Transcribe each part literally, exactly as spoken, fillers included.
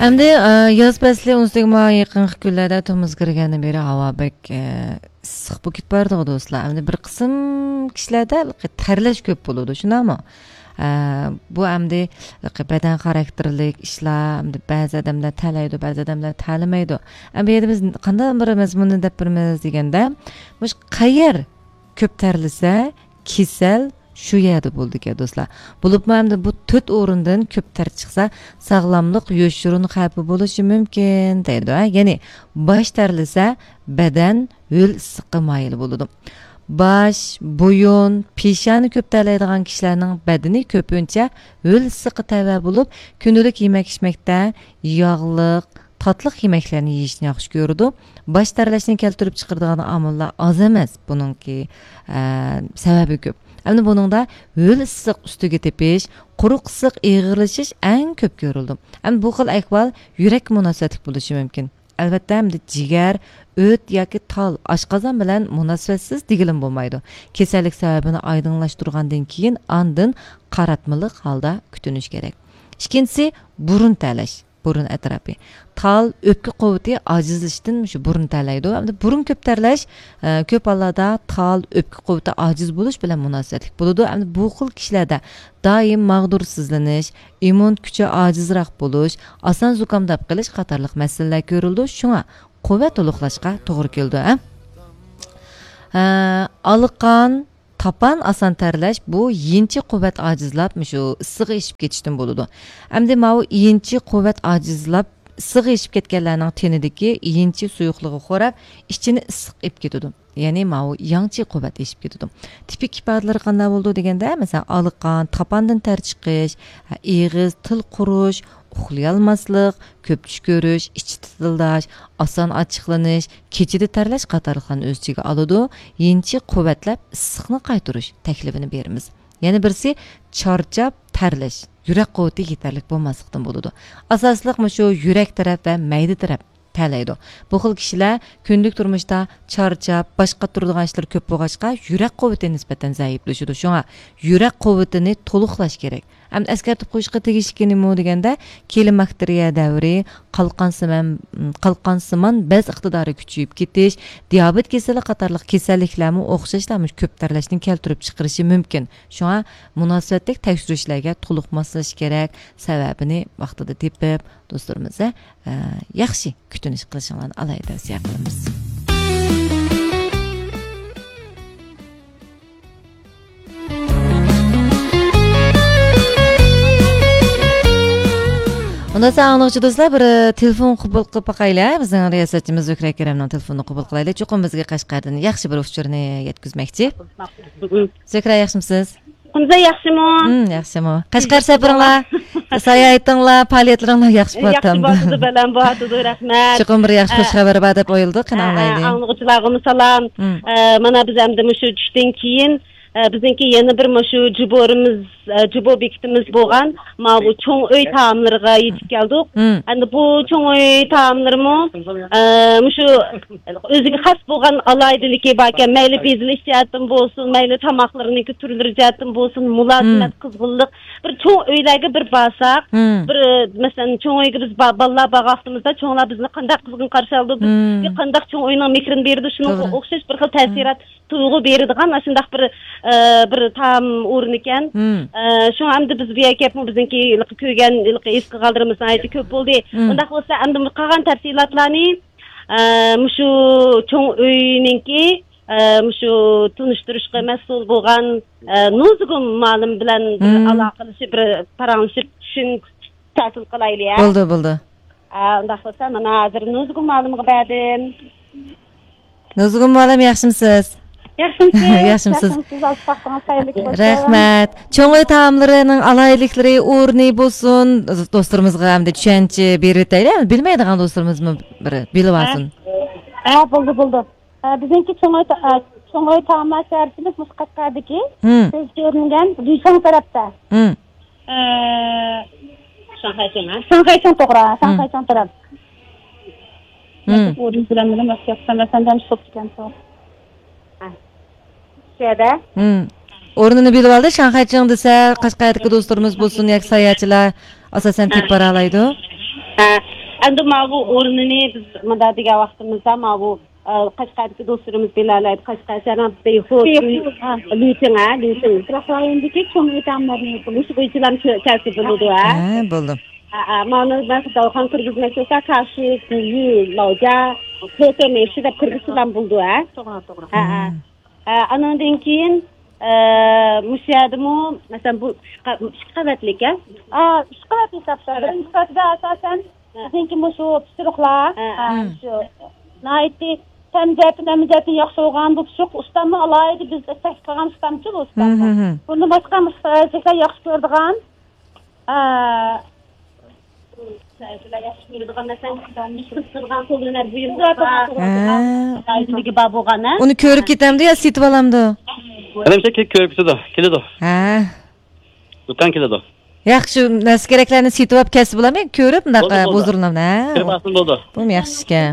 ئەمدى، ئە، ياز پەسلى ئون سەككىز مايغا يېقىنقى كۈنلەردە تومۇزغا كىرگەندىن بېرى ھاۋا بەك، ئە، ئىسسىق بولۇپ كېتىپ بارىدىغۇ دوستلار. ئەمدى بىر قىسىم كىشىلەردە تەرلەش كۆپ بولىدۇ، شۇنداقمۇ؟ ئە، بۇ ئەمدى بەدەن خاراكتېرلىك ئىشلار، ئەمدى بەزى ئادەملەر تەرلەيدۇ، بەزى ئادەملەر تەرلىمەيدۇ. ئەمدى بۇ يەردە بىز قانداق بىر مەزمۇننى دەپ بېرىمىز دېگەندە، مۇشۇ قەيەر كۆپ تەرلىسە، كېسەل شۇ يەردە بولىدىكەن، دوستلار. بولۇپمۇ ئەمدى بۇ تۆت ئورۇندىن كۆپ تەر چىقسا، ساغلاملىق يوشۇرۇن خەۋپى بولۇشى مۇمكىن، دەيدۇ، ھە؟ يەنى باش تەرلىسە، بەدەن ھۆل ئىسسىققا مايىل بولىدۇ. باش، بويۇن، پېشانە كۆپ تەرلەيدىغان كىشىلەرنىڭ بەدىنى كۆپىنچە ھۆل ئىسسىققا تەۋە بولۇپ، كۈندىلىك يېمەك-ئىچمەكتە ياغلىق، تاتلىق يېمەكلەرنى يېيىشنى ياخشى كۆرىدۇ. باش تەرلەشنى كەلتۈرۈپ چىقىرىدىغان ئامىللار ئاز ئەمەس، بۇنىڭكى، ئە، سەۋەبى كۆپ. ئەمدى بۇنىڭدا ھۆل ئىسسىق ئۈستىگە تېپىش، قۇرۇق ئىسسىق ئېغىرلىشىش ئەڭ كۆپ كۆرۈلىدۇ. ئەمدى بۇ خىل ئەھۋال يۈرەككە مۇناسىۋەتلىك بولۇشى مۇمكىن. ئەلۋەتتە، ئەمدى جىگەر، ئۆت ياكى تال، ئاشقازان بىلەن مۇناسىۋەتسىز دېگىلىمۇ بولمايدۇ. كېسەللىك سەۋەبىنى ئايدىڭلاشتۇرغاندىن كېيىن، ئاندىن قاراتمىلىق ھالدا كۈتۈنۈش كېرەك. ئىككىنچىسى، بۇرۇن تەرلەش. بۇرۇن ئەتراپى. تال، ئۆپكە قۇۋۋىتى ئاجىزلىشىشتىن مۇشۇ بۇرۇن تەرلەيدۇ. ئەمدى بۇرۇن كۆپ تەرلەش، ئە، كۆپ ھاللاردا تال، ئۆپكە قۇۋۋىتى ئاجىز بولۇش بىلەن مۇناسىۋەتلىك بولىدۇ. ئەمدى بۇ خىل كىشىلەردە دائىم ماغدۇرسىزلىنىش، ئىممۇن كۈچى ئاجىزراق بولۇش، ئاسان زۇكامداپ قېلىش قاتارلىق مەسىلىلەر كۆرۈلىدۇ. شۇڭا قۇۋۋەت تولۇقلاشقا توغرا كېلىدۇ، ھە؟ ئە، ئالىقان، تاپان ئاسان تەرلەش، بۇ يىنچى قۇۋۋەت ئاجىزلاپ، مۇشۇ ئىسسىقى ئېشىپ كېتىشتىن بولىدۇ. ئەمدى ماۋۇ يىنچى قۇۋۋەت ئاجىزلاپ، ئىسسىقى ئېشىپ كەتكەنلەرنىڭ تېنىدىكى يىنچى سۇيۇقلۇقى خوراپ، ئىچىنى ئىسسىق ئېلىپ كېتىدۇ. يەنى ماۋۇ ياڭچى قۇۋۋەت ئېشىپ كېتىدۇ. تىپىك ئىپادىلىرى قانداق بولىدۇ دېگەندە، مەسىلەن، ئالىقان، تاپاندىن تەر چىقىش، ئېغىز، تىل قۇرۇش، ئۇخلىيالماسلىق، كۆپ چۈش كۆرۈش، ئىچى تىتىلداش، ئاسان ئاچچىقلىنىش، كېچىدە تەرلەش قاتارلىقلارنى ئۆز ئىچىگە ئالىدۇ. يىنچە قۇۋۋەتلەپ ئىسسىقنى قايتۇرۇش تەكلىپىنى بېرىمىز. يەنە بىرسى چارچاپ تەرلەش، يۈرەك قۇۋۋىتى يېتەرلىك بولماسلىقتىن بولىدۇ. ئاساسلىق مۇشۇ يۈرەك تەرەپ ۋە مەيدە تەرەپ تەرلەيدۇ. بۇ خىل كىشىلەر كۈندىلىك تۇرمۇشتا چارچاپ، باش قاتۇرىدىغان ئىشلىرى كۆپ بولغاچقا، يۈرەك قۇۋۋىتى نىسبەتەن زەئىپلىشىدۇ. شۇڭا يۈرەك قۇۋۋىتىنى تولۇقلاش كېرەك. ئەمدى ئەسكەرتىپ قويۇشقا تېگىشلىكى نېمە دېگەندە، كېلىن باكتېرىيە دەۋرى، قالقانسىمان، قالقانسىمان بەز ئىقتىدارى كۈچىيىپ كېتىش، دىيابېت كېسىلى قاتارلىق كېسەللىكلەرمۇ ئوخشاشلا مۇشۇ كۆپ تەرلەشنى كەلتۈرۈپ چىقىرىشى مۇمكىن. شۇڭا مۇناسىۋەتلىك تەكشۈرۈشلەرگە تولۇق ماسلىشىش كېرەك، سەۋەبىنى ۋاقتىدا تېپىپ، دوستلىرىمىزنى، ئە، ياخشى كۈتۈنۈش قىلىشىڭلارنى ئالاھىدە تەۋسىيە قىلىمىز. ئۇنداقتا ئاڭلىغۇچى دوستلار، بىر، ئە، تېلېفون قوبۇل قىلىپ باقايلى. بىزنىڭ رىياسەتچىمىز زۆھرە كېرەمنىڭ تېلېفونىنى قوبۇل قىلايلى. چوقۇم بىزگە قەشقەردىن ياخشى بىر ئۇچۇرنى يەتكۈزمەكچى. زۆھرە، ياخشىمۇسىز؟ قۇمزا ياخشىمۇ؟ ھىم، ياخشىمۇ؟ قەشقەر سەپىرىڭلار، ساياھىتىڭلار، پائالىيەتلىرىڭلار ياخشى بولۇۋاتامدۇ؟ ياخشى بولۇۋاتىدۇ، بەلەن بولۇۋاتىدۇ، رەھمەت. چوقۇم بىر ياخشى ئە، خۇش خەۋەر بار دەپ ئويلىدۇق، قېنى ئە، ئاڭلايلى. ئاڭلىغۇچىلارغا سالام. ھىم. ئە، مانا بىز ئەمدى مۇشۇ چۈشتىن كېيىن، ئە، بىزنىڭكى يەنە بىر مۇشۇ جۇبورىمىز، ئە، جۇبو بېكىتىمىز بولغان ماۋۇ چوڭ ئۆي تائاملىرىغا يېتىپ كەلدۇق. ھىم. ئەمدى بۇ چوڭ ئۆي تائاملىرىمۇ، ئە، مۇشۇ ئۆزىگە خاس بولغان ئالاھىدىلىكى باركەن، مەيلى بېزىلىش جەھەتتىن بولسۇن، مەيلى تاماقلىرىنىڭكى تۈرلىرى جەھەتتىن بولسۇن، مۇلازىمەت، مم. قىزغىنلىق. بىر چوڭ ئۆيلەرگە بىر بارساق، مم. بىر، مەسىلەن، چوڭ ئۆيگە بىز با-، بالىلار بارغان ۋاقتىمىزدا، چوڭلار بىزنى قانداق قىزغىن قارشى ئالىدۇ، بىزگە مم. قانداق چوڭ ئۆينىڭ مېھرىنى بېرىدۇ، شۇنىڭغا توغرا. ئوخشاش بىر خىل مم. تەسىرات، تۇيغۇ بېرىدىغان ئاشۇنداق بىر، ئە، بىر تائام ئورنىكەن. مم. ئە، شۇڭا ئەمدى بىز بۇ يەرگە كەپمۇ بىزنىڭكى ھېلىقى كۆرگەن، ھېلىقى ھېس قىلغانلىرىمىز ناھايىتى كۆپ بولدى. مم. ئۇنداق بولسا ئەمدى قالغان تەپسىلاتلارنى ئە، مۇشۇ چوڭ ئۆينىڭكى، ئە، مۇشۇ تونۇشتۇرۇشقا مەسئۇل بولغان، ئە، نۇزۇگۇم مۇئەللىم بىلەن بىر مم. ئالاقىلىشىپ، بىر پاراڭلىشىپ، چۈشىنىش ھاسىل قىلايلى، يا؟ بولدى، بولدى. ئە، ئۇنداق بولسا، مانا ھازىر نۇزۇگۇم مۇئەللىمگە بەردىم. نۇزۇگۇم مۇئەللىم، ياخشىمۇسىز؟ ياخشىمۇ سىز؟ ياخشىمۇ سىز؟ ياخشىمۇ سىز؟ ۋاقتىڭىز خەيرلىك بولسۇن. رەھمەت. چوڭ ئۆي تائاملىرىنىڭ ئالاھىدىلىكلىرى، ئورنى بولسۇن، دوستلىرىمىزغا ئەمدى چۈشەنچە بېرىۋېتەيلى. بىلمەيدىغان دوستلىرىمىزمۇ بىر بىلىۋالسۇن. ھە، ھە، بولدى، بولدى. ھە، بىزنىڭكى چوڭ ئۆي تا-، ئە، چوڭ ئۆي تائاملار شەھەرچىمىز مۇشۇ قەشقەردىكى ھىم. كۆز كۆرۈنگەن لۈشاڭ تەرەپتە. ھىم. ئە، شاڭخەيچىڭ، ھە؟ شاڭخەيچىڭ توغرا، ھىم. شاڭخەيچىڭ تەرەپ. ھىم. نەسىب ئورۇن بىلەن بىلەن مەسلىھەتلەشسەم، مەسەلەن، دەم شۇت ئىكەن، شۇ. ھە. شۇ يەردە. ھىم. ئورنىنى بىلىۋالدى. شاڭخەيچىڭ دېسە، قەشقەردىكى دوستلىرىمىز بولسۇن ياكى ساياھەتچىلەر ئاساسەن ھە. تېپىپ بارالايدۇ. ھە. ئەمدى ماۋۇ ئورنىنى بىز مۇنداق دېگەن ۋاقتىمىزدا، ماۋۇ، ئە، قەشقەردىكى دوستلىرىمىز بىلەلەيدۇ. قەشقەر شەھەرنىڭ بېيخۇ، بېيخۇ، ھە. لۈچىڭ، ھە، لۈچىڭ. قىرغاق رايوندىكى چوڭ ئۆتەملەرنى مۇشۇ بويىچىلام كەلسە بولىدۇ، ھە. ھە، بولدى. ھە، ھە، مانا مەن داۋخان كىرگۈزمەك بولسا، كاشۇ، گۈيۈ، لاۋجا، پېتېمېشى دەپ كىرگۈزسىلەم بولىدۇ، ھە. توغرا، توغرا. ھە، ھە. ھە، ئانىڭدىن كېيىن، ئە، مۇشۇ يەردىمۇ، مەسىلەن، بۇ ئۈچ قا-، ئىككى قەۋەتلىك، ھە؟ ئا، ئۈچ قەۋەتلىك ھېسابتا. بىرىنچى قەۋىتىدە ئاساسەن بىزنىڭكى مۇشۇ پىشۇرۇقلار، ھە. ئا، مم. شۇ ناھايىتى تەم جەھەتتىن، ھەممە جەھەتتىن ياخشى بولغان بۇ پىشۇرۇق ئۇستاممۇ ئالاھىدە بىز تەكلىپ قىلغان ئۇستامچۇ بۇ ئۇستاممۇ. مم، مم، مم. بۇندىن باشقا مۇشۇ ساياھەتچىلەر ياخشى كۆرىدىغان، ئا، ساياھەتچىلەر ياخشى كۆرىدىغان، مەسىلەن، قىزىدىغان قول ھۈنەر بۇيۇملىرى بار. ھە. ئايدىمىگە بار بولغان، ھە؟ ئۇنى كۆرۈپ كېتەمدۇ يا سېتىپ ئالامدۇ؟ مېنىڭچە كۆرۈپ كېتىدۇ، كېلىدۇ. ھە. دۇكان كېلىدۇ. ياخشى، شۇ نەرسە كېرەكلەرنى سېتىۋاپ كەلسە بولامدۇ؟ كۆرۈپ مۇنداق، بولدى، ئە، بولدى. ھۇزۇرلىنامدۇ؟ ھە. كۆرۈپ ئالسىمۇ بولدى. بۇمۇ ياخشى ئىكەن.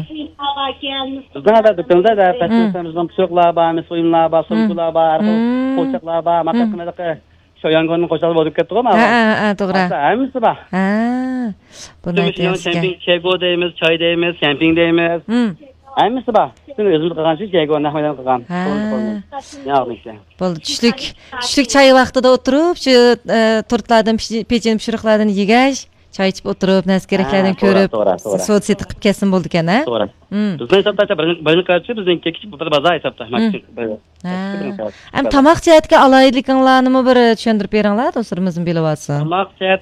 بىزنىڭ ھازىر دۇكىنىمىزدا ھە، پەسىل مم. بىزنىڭ پىشۇرۇقلار بار، مىس بۇيۇملار بار، مم. سومكىلار بار، ماتاق مم. قىممەتلىك شياڭگوننىڭ قوشاقلىرى بولۇپ كەتتىغۇ، ماۋۇ. ھە، ھە، ھە، توغرا. ھەممىسى بار. ھە. بۇ ناھايىتى ياخشى ئىكەن. شياڭگو دەيمىز، چاي دەيمىز، كەمپىڭ دەيمىز. مم. ھەممىسى بار. پۈتۈن ئۆزىمىز قىلغان ئىش، شياڭگو نەق مەيدان قىلغان. ھە. قولىمىز، قولىمىز. ياغنى ئىشلەي. بولدى، چۈشلۈك، چۈشلۈك چاي ۋاقتىدا ئولتۇرۇپ، شۇ، ئە، تورتلاردىن، پىشى-، پېچىنە پىشۇرۇقلاردىن يېگەچ، چاي ئىچىپ ئولتۇرۇپ، نەرسە كېرەكلەردىن ھە، توغرا، كۆرۈپ، توغرا، توغرا. سودا سېتىق قىلىپ كەلسىمۇ بولىدىكەن، ھە؟ توغرا. مم. بىزنىڭ ھېسابتا بىر، بىر كارچە، بىزنىڭكى كىچىك بىر بازار ھېسابتا، مم. ماكسىم بىر. ھە. ئەم، تاماق جەھەتتىكى ئالاھىدىلىكىڭلارنىمۇ بىر چۈشەندۈرۈپ بېرىڭلار، دوستلىرىمىزمۇ بىلىۋالسۇن. تاماق جەھەت